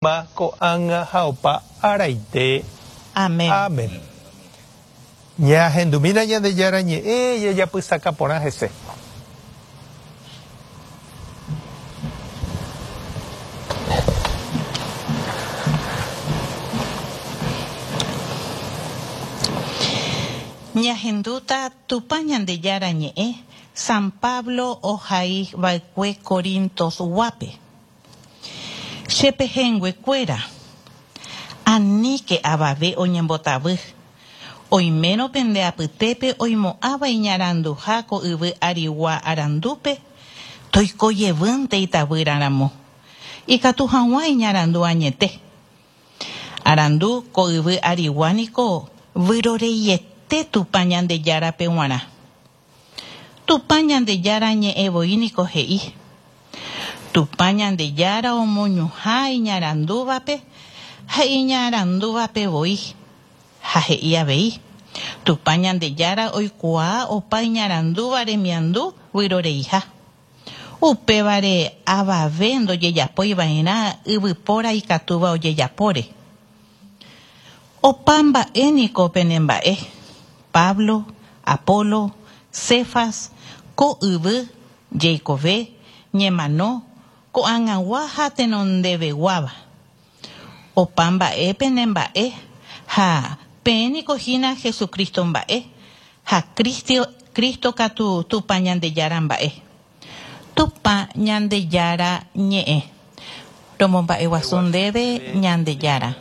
Yma, ko'ág̃a ha opa araite. Amén. Amén. Ñahendumína Ñandejára Ñe'ẽ jajapysaka porã hese. Ñahendúta Tupã Ñandejára Ñe'ẽ San Pablo ohai va'ekue Corintos guápe. Che pehẽnguekuéra, aníke avave oñembotavy, oimérõ pende apytépe oimo'ãva iñaranduha ko yvy arigua arandúpe, toiko jevýnte itavýra ramo, ikatu hag̃ua iñarandu añete. Arandu ko yvy arigua niko vyroreiete Tupã Ñandejárape g̃uarã. Tupã Ñandejára ñe'ẽ voi niko he'i, Tupã Ñandejára omoñuhã iñarandúvape ha iñarandúvape voi, ha he'i avei, Tupã Ñandejára oikuaa opa iñarandúva remiandu vyroreiha. Upévare avave ndojejapói va'erã yvypóra ikatúva ojejapóre. Opa mba'e niko pene mba'e, Pablo, Apolo, Cefas, ko yvy, jeikove, ñemano, ko'ag̃agua ha tenondeveguáva. Opa mba'e pene mba'e ha peẽ niko hína Jesucristo mba'e ha Cristo katu Tupã Ñandejára mba'e. Tupã Ñandejára ñe'ẽ. Romomba'eguasu ndéve Ñandejára.